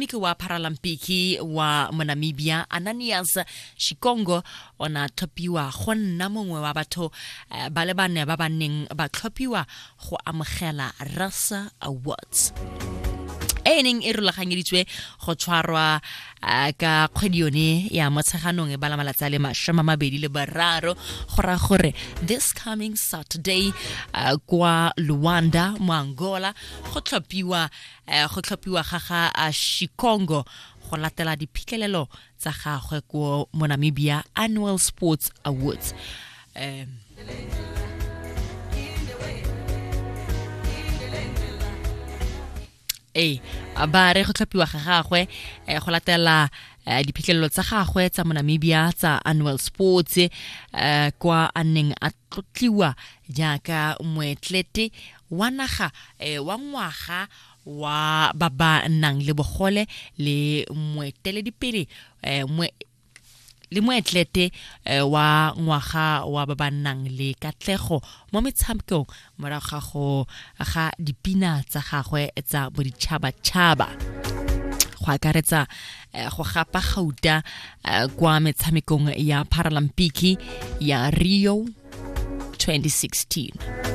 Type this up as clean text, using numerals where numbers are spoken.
Motshameki wa Paralampiki wa Monamibia Ananias Shikongo o ne a tlhophiwa go nna mongwe wa batho eh, ba le bane ba ba neng ba tlhophiwa go amogela Rasa Awards e e neng e rulaganyeditswe go tshwarwa eh, ka kgwedi yone ya Motsheganong e bala malatsi a le 23, go raya gore this coming Saturday eh, kwa Luanda mo Angola go tlhophiwa go tlhophiwa ga ga Shikongo go latela diphitlhelelo tsa gagwe ko mo Namibia Annual Sports Awards. Ee, ba re go tlhophiwa ga gagwe go latela diphitlhelelo tsa gagwe tsa mo Namibia tsa Annual Sports, kwa a neng a tlotliwa jaaka moetlete wa naga wa ngwaga wa ba ba nang le bogole le moeteledipele le moetlete wa ngwaga wa ba ba nang le katlego mo metshamekong morago ga go ga dipina tsa gagwe tsa boditšhabatšhaba, go akaretsa go gapa gauta kwa metshamekong ya Paralampiki ya Rio 2016.